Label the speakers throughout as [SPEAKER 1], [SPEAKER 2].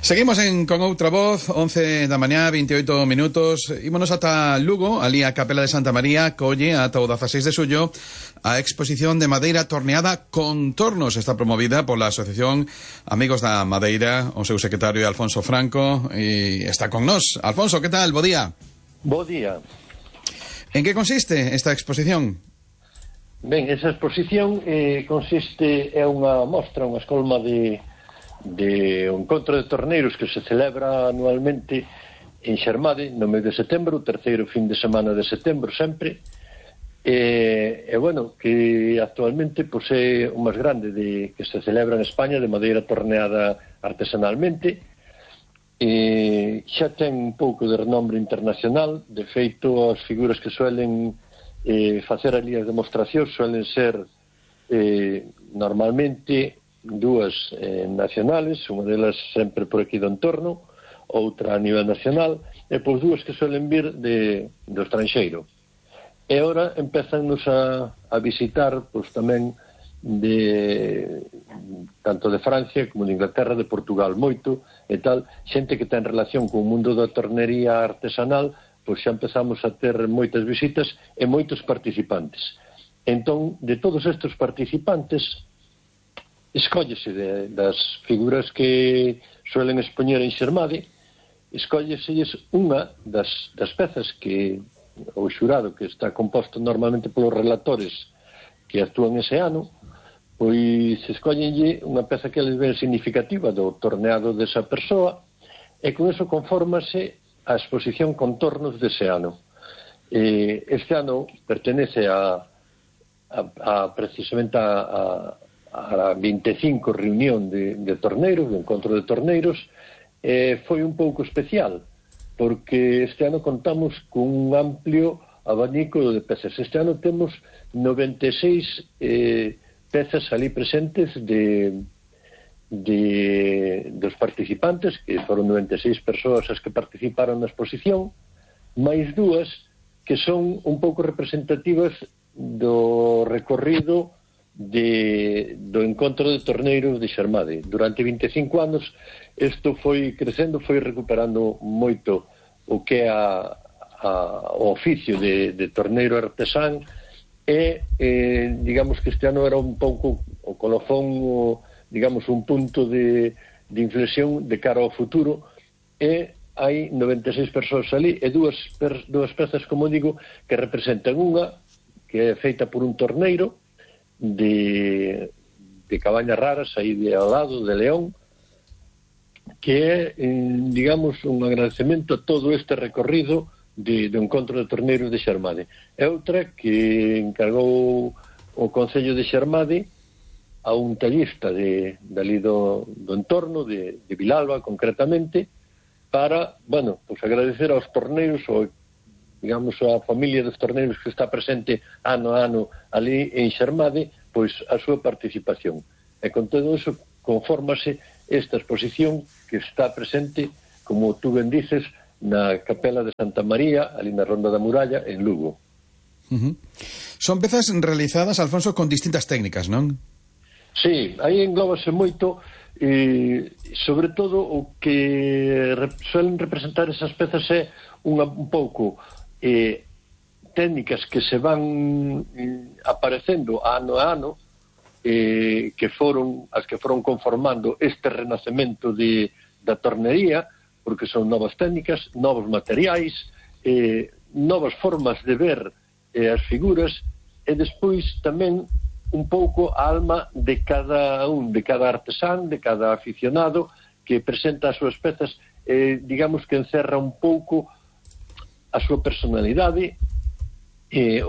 [SPEAKER 1] Seguimos con outra voz, 11 da mañá, 28 minutos. Ímonos ata Lugo, ali a Capela de Santa María, colle ata o 16 de xullo a exposición de madeira torneada Contornos. Está promovida pola Asociación Amigos da Madeira, o seu secretario Alfonso Franco, e está con nós. Alfonso, que tal? Bo día.
[SPEAKER 2] Bo día.
[SPEAKER 1] En que consiste esta exposición?
[SPEAKER 2] Ben, esa exposición consiste, é unha mostra, unha escolma de un encontro de torneiros que se celebra anualmente en Xermade no mes de setembro, o terceiro fin de semana de setembro sempre, bueno, que actualmente pois, é o máis grande que se celebra en España de madeira torneada artesanalmente. Xa ten un pouco de renombre internacional. De feito, as figuras que suelen facer ali as demostracións suelen ser normalmente dúas nacionales, unha delas sempre por aquí do entorno, outra a nivel nacional, e pois dúas que suelen vir do estranxeiro. E ora empezannos a visitar pois tamén tanto de Francia como de Inglaterra, de Portugal, moito e tal, xente que ten relación co mundo da tornería artesanal, pois xa empezamos a ter moitas visitas e moitos participantes. Entón, de todos estes participantes, escóllese das figuras que suelen expoñer en Xermade, escólleselles unha das pezas que o xurado, que está composto normalmente polos relatores que actúan ese ano, pois escóllenlle unha peza que les ve significativa do torneado desa persoa, e con eso confórmase a exposición Contornos dese ano. Este ano pertenece precisamente a 25 reunión de torneiros, de encontro de torneiros. Foi un pouco especial, porque este ano contamos con un amplio abanico de pezas. Este ano temos 96 pezas ali presentes dos participantes, que foron 96 persoas as que participaron na exposición, máis dúas que son un pouco representativas do recorrido do encontro de torneiros de Xermade. Durante 25 anos isto foi crecendo, foi recuperando moito o que é o oficio de torneiro artesán, e digamos que este ano era un pouco o colofón, digamos un punto de inflexión de cara ao futuro, e hai 96 persoas ali e dúas pezas, como digo, que representan unha que é feita por un torneiro de Cabañas Raras, aí ao lado de León, que é, digamos, un agradecemento a todo este recorrido do encontro de torneiros de Xermade. É outra que encargou o Concello de Xermade a un tallista dali do entorno, de Vilalba concretamente, para, bueno, pues agradecer aos torneiros, digamos, a familia dos torneiros que está presente ano a ano ali en Xermade, pois a súa participación. E con todo eso confórmase esta exposición que está presente, como tú ben dices, na Capela de Santa María, ali na Ronda da Muralla, en Lugo.
[SPEAKER 1] Son pezas realizadas, Alfonso, con distintas técnicas, non?
[SPEAKER 2] Sí, aí englóbase moito, sobre todo o que suelen representar esas pezas é un pouco técnicas que se van aparecendo ano a ano, que foron as que foron conformando este renacemento da tornería, porque son novas técnicas, novos materiais, novas formas de ver as figuras, e despois tamén un pouco a alma de cada artesán, de cada aficionado que presenta as súas pezas, digamos que encerra un pouco a súa personalidade,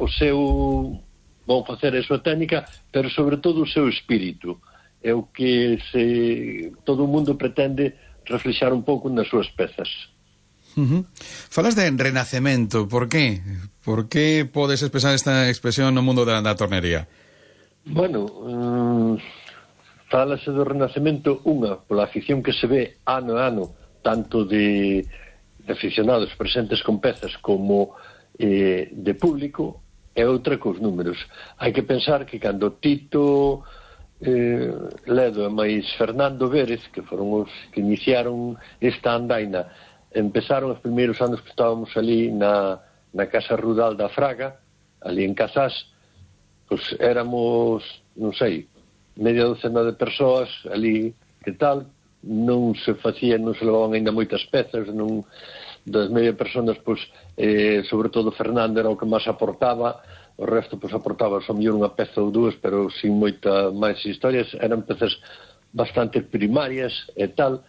[SPEAKER 2] o seu, vão facer a súa técnica, pero sobre todo o seu espírito. É o que todo o mundo pretende reflexar un pouco nas súas pezas.
[SPEAKER 1] Falas de renacemento, por qué? Por que podes expresar esta expresión no mundo da tornería?
[SPEAKER 2] Bueno, falase do renacemento unha pola afición que se ve ano a ano, tanto de aficionados presentes con pezas como de público, e outra cos números. Hai que pensar que cando Tito Ledo e máis Fernando Vérez, que foron os que iniciaron esta andaina, empezaron os primeiros anos que estábamos ali na Casa Rudal da Fraga, ali en Casás, pois éramos, non sei, media docena de persoas ali, que tal, non se levaban ainda moitas pezas, non, das media personas, pois, sobre todo Fernando era o que máis aportaba, o resto pois aportaba só mellor unha peza ou dúas, pero sin moita máis historias, eran pezas bastante primarias e tal,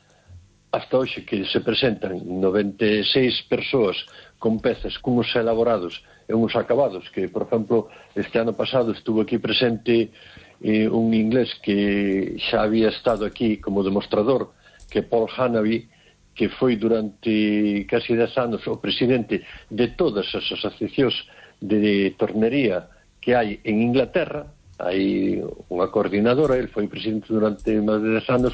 [SPEAKER 2] hasta hoxe que se presentan 96 persoas con pezas cunhos elaborados e uns acabados, que, por exemplo, este ano pasado estuvo aquí presente un inglés que xa había estado aquí como demostrador, que Paul Hanaby, que foi durante casi 10 anos o presidente de todas as asociacións de tornería que hai en Inglaterra. Hai unha coordinadora, el foi presidente durante máis de 10 anos,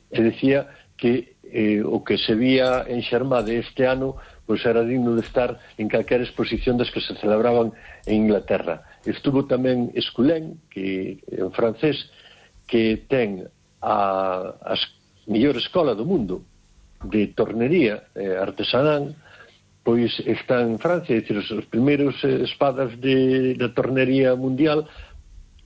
[SPEAKER 2] e decía que o que se vía en Xermade este ano pois era digno de estar en calquera exposición das que se celebraban en Inglaterra. Estuvo tamén Esculén, que en francés, que ten a mellor escola do mundo de tornería artesanal, pois está en Francia, é dicir, os primeiros espadas da tornería mundial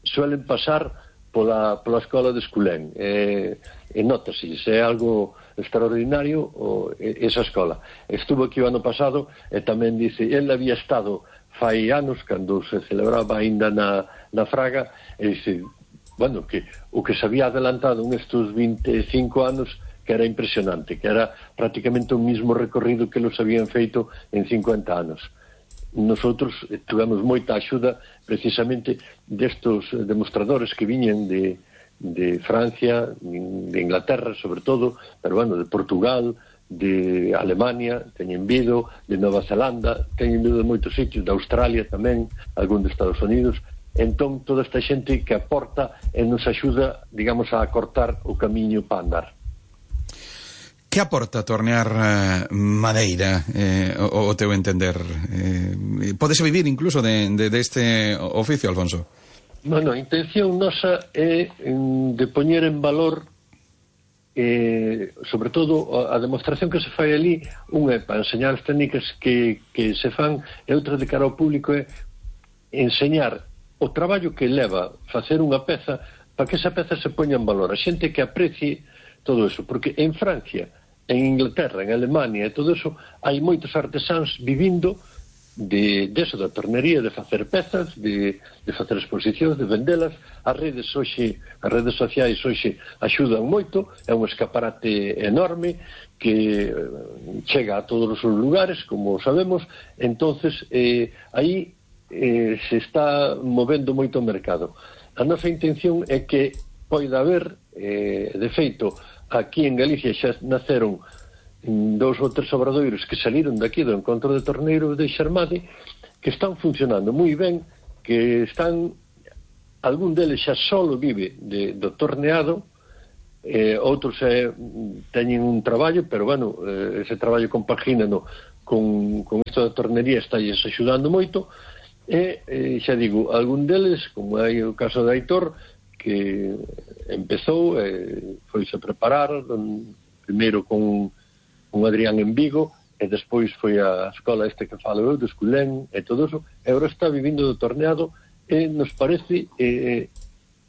[SPEAKER 2] suelen pasar pola escola de Esculén, e notase, é algo extraordinario esa escola. Estuvo aquí o ano pasado e tamén dice, el había estado fai anos, cando se celebraba aínda na Fraga, e dice, bueno, que o que se había adelantado nestes 25 anos, que era impresionante, que era prácticamente o mismo recorrido que los habían feito en 50 anos. Nosotros tivemos moita axuda precisamente destos demostradores que viñen de Francia, de Inglaterra sobre todo, pero bueno, de Portugal, de Alemania, teñen vido, de Nova Zelanda, teñen vido de moitos sitios, de Australia tamén, algún de Estados Unidos. Entón, toda esta xente que aporta e nos axuda, digamos, a acortar o camiño para andar.
[SPEAKER 1] Que aporta tornear madeira, o teu entender? Pódese vivir incluso de este oficio, Alfonso?
[SPEAKER 2] Bueno, a intención nosa é de poñer en valor, sobre todo, a demostración que se fai ali. Unha é para enseñar as técnicas que se fan, e outra de cara ao público é enseñar o traballo que leva facer unha peza para que esa peza se poña en valor, a xente que aprecie todo eso, porque en Francia, en Inglaterra, en Alemania e todo eso, hai moitos artesáns vivindo deso, da tornería, de facer pezas, de facer exposicións, de vendelas. As redes sociais hoxe axudan moito, é un escaparate enorme que chega a todos os lugares, como sabemos. Entonces aí se está movendo moito o mercado. A nosa intención é que poida haber, de feito, aquí en Galicia xa naceron 2 ou 3 obradoiros que saliron daqui do encontro de torneiros de Xermade, que están funcionando moi ben, que están, algún deles xa solo vive do torneado, outros teñen un traballo, pero bueno, ese traballo compagínano con isto da tornería está axudando moito, e xa digo, algún deles, como hai o caso de Aitor, que empezou, foise a preparar primeiro con Adrián en Vigo, e despois foi a escola que falo eu, de Esculén, e todo eso, e agora está vivindo do torneado, e nos parece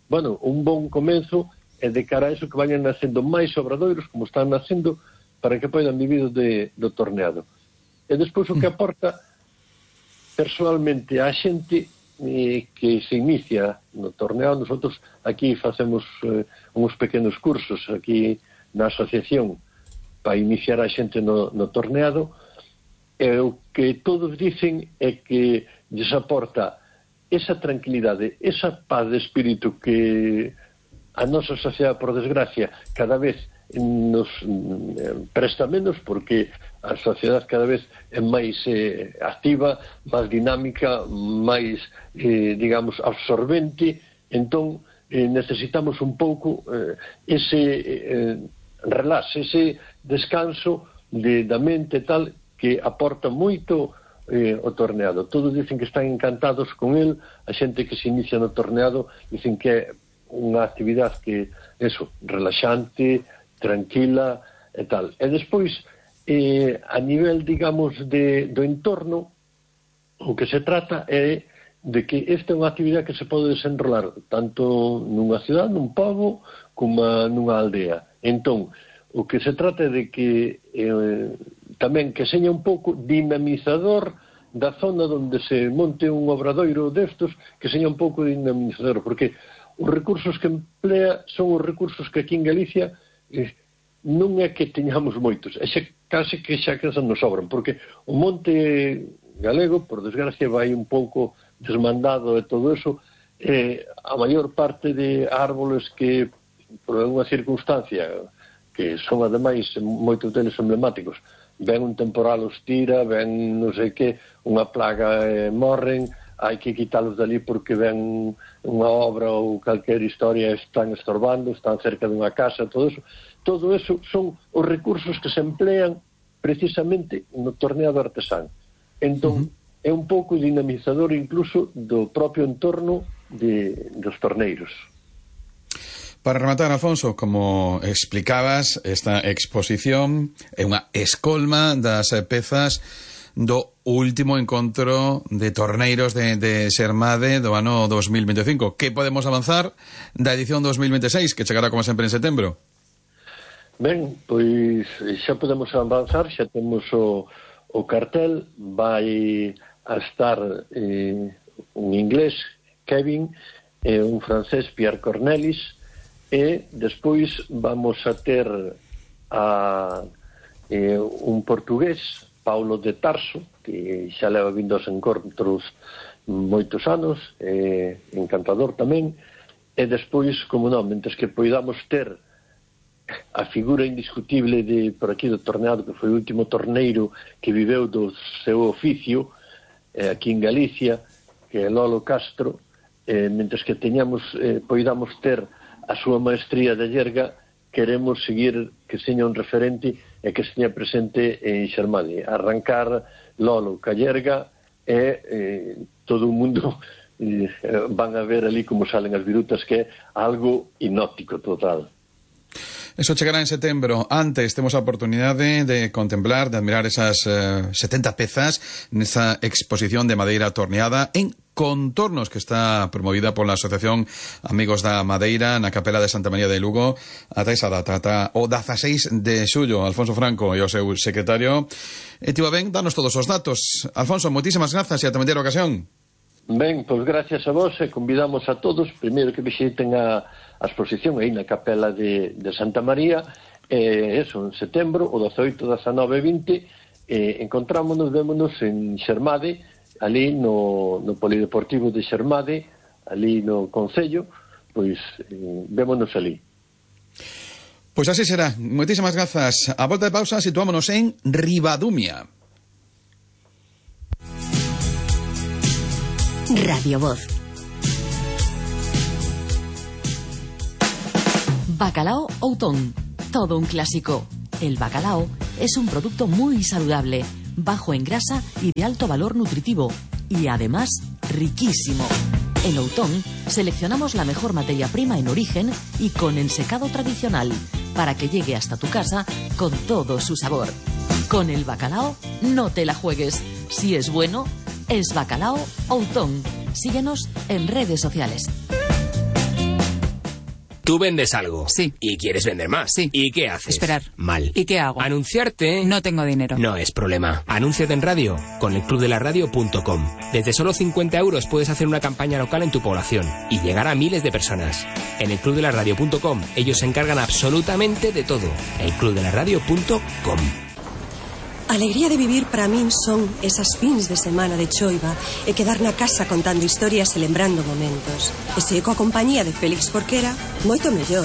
[SPEAKER 2] bueno, un bon comenzo, e de cara a eso que vayan nacendo máis obradoiros, como están nacendo, para que poidan vivir do torneado. E despois o que aporta persoalmente a xente que se inicia no torneado. Nosotros aquí facemos uns pequenos cursos aquí na asociación para iniciar a xente no torneado, e o que todos dicen é que lles aporta esa tranquilidade, esa paz de espírito que a nosa sociedade, por desgracia, cada vez nos presta menos, porque a sociedade cada vez é máis activa, máis dinámica, máis, digamos, absorbente. Entón, necesitamos un pouco ese relax, ese descanso da mente tal, que aporta moito o torneado. Todos dicen que están encantados con el, a xente que se inicia no torneado dicen que é unha actividade que, relaxante, tranquila e tal. E despois, a nivel, digamos, do entorno, o que se trata é de que esta é unha actividade que se pode desenrolar tanto nunha cidade, nun pobo, como nunha aldea. Entón, o que se trata é de que tamén que seña un pouco dinamizador da zona onde se monte un obradoiro destos, que seña un pouco dinamizador, porque os recursos que emplea son os recursos que aquí en Galicia non é que teñamos moitos, é case que xa que nos sobran, porque o monte galego, por desgracia, vai un pouco desmandado e todo eso, a maior parte de árboles que, por unha circunstancia, que son ademais moitos deles emblemáticos, ven un temporal os tira, ven non sei que, unha plaga morren, hai que quitalos dali porque ven unha obra ou calquer historia, están estorbando, están cerca dunha casa, todo eso son os recursos que se emplean precisamente no torneado artesán. Entón, é un pouco dinamizador incluso do propio entorno dos torneiros.
[SPEAKER 1] Para rematar, Alfonso, como explicabas, esta exposición é unha escolma das pezas do último encontro de torneiros de Xermade do ano 2025. Que podemos avanzar da edición 2026, que chegará como sempre en setembro?
[SPEAKER 2] Ben, pois xa podemos avanzar, xa temos o cartel, vai a estar un inglés, Kevin, e un francés, Pierre Cornelis, e despois vamos a ter un portugués, Paulo de Tarso, que xa leva vindo aos encontros moitos anos, encantador tamén, e despois, como non, mentres que poidamos ter a figura indiscutible por aquí do torneado, que foi o último torneiro que viveu do seu oficio aquí en Galicia, que é Lolo Castro, mentres que poidamos ter a súa maestría de yerga, queremos seguir que seña un referente e que seña presente en Xermade. Arrancar Lolo ca yerga e todo o mundo van a ver ali como salen as virutas, que é algo hipnótico total.
[SPEAKER 1] Eso chegará en setembro. Antes temos a oportunidade de contemplar, de admirar esas 70 pezas nesa exposición de madeira torneada en Contornos, que está promovida pola Asociación Amigos da Madeira na Capela de Santa María de Lugo ata esa data, ata o 16 de xullo. Alfonso Franco e o seu secretario tivo ben danos todos os datos. Alfonso, moitísimas grazas e ata mañá ocasión.
[SPEAKER 2] Ben, pois gracias a vos e convidamos a todos primeiro que visiten a exposición aí na Capela de Santa María, eso, en setembro, o 18, 19 e 20, vémonos en Xermade, ali no Polideportivo de Xermade, ali no Concello, pois vémonos ali.
[SPEAKER 1] Pois así será. Moitísimas grazas. A volta de pausa situámonos en Ribadumia.
[SPEAKER 3] Radio Voz. Bacalao Outón, todo un clásico. El bacalao es un producto muy saludable, bajo en grasa y de alto valor nutritivo, y además riquísimo. En Outón seleccionamos la mejor materia prima en origen y con ensecado tradicional, para que llegue hasta tu casa con todo su sabor. Con el bacalao no te la juegues. Si es bueno, es Bacalao Outón. Síguenos en redes sociales.
[SPEAKER 4] Tú vendes algo.
[SPEAKER 5] Sí.
[SPEAKER 4] Y quieres vender más.
[SPEAKER 5] Sí.
[SPEAKER 4] ¿Y qué haces?
[SPEAKER 5] Esperar.
[SPEAKER 4] Mal.
[SPEAKER 5] ¿Y qué hago?
[SPEAKER 4] Anunciarte.
[SPEAKER 5] No tengo dinero.
[SPEAKER 4] No es problema. Anúnciate en radio con elclubdelaradio.com. Desde solo 50 euros puedes hacer una campaña local en tu población y llegar a miles de personas. En elclubdelaradio.com ellos se encargan absolutamente de todo. elclubdelaradio.com.
[SPEAKER 6] Alegría de vivir para min son esas fins de semana de choiva e quedar na casa contando historias e lembrando momentos. E se coa compañía de Félix Jorquera, moito mellor.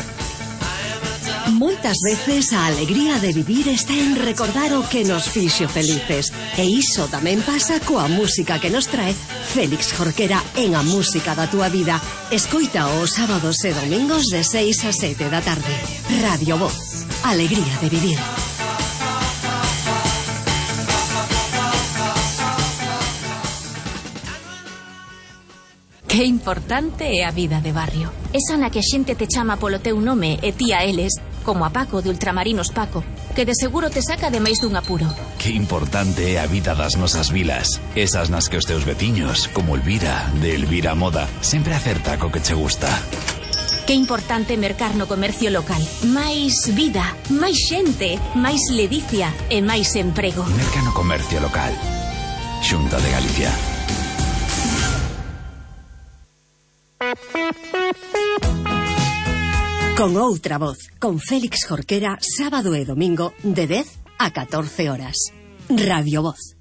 [SPEAKER 3] Moitas veces a alegría de vivir está en recordar o que nos fixo felices. E iso tamén pasa coa música que nos trae Félix Jorquera en A Música da Túa Vida. Escoita os sábados e domingos de 6 a 7 da tarde. Radio Voz. Alegría de vivir.
[SPEAKER 5] Que importante é a vida de barrio.
[SPEAKER 7] Esa na que a xente te chama polo teu nome e ti a eles, como a Paco de Ultramarinos Paco, que de seguro te saca de máis dun apuro.
[SPEAKER 8] Que importante é a vida das nosas vilas. Esas nas que os teus veciños, como Elvira, de Elvira Moda, sempre acerta co que che gusta.
[SPEAKER 7] Que importante mercar no comercio local. Máis vida, máis xente, máis ledicia e máis emprego.
[SPEAKER 8] Merca no comercio local. Xunta de Galicia.
[SPEAKER 6] Con outra voz, con Félix Jorquera, sábado e domingo, de 10 a 14 horas. Radio Voz.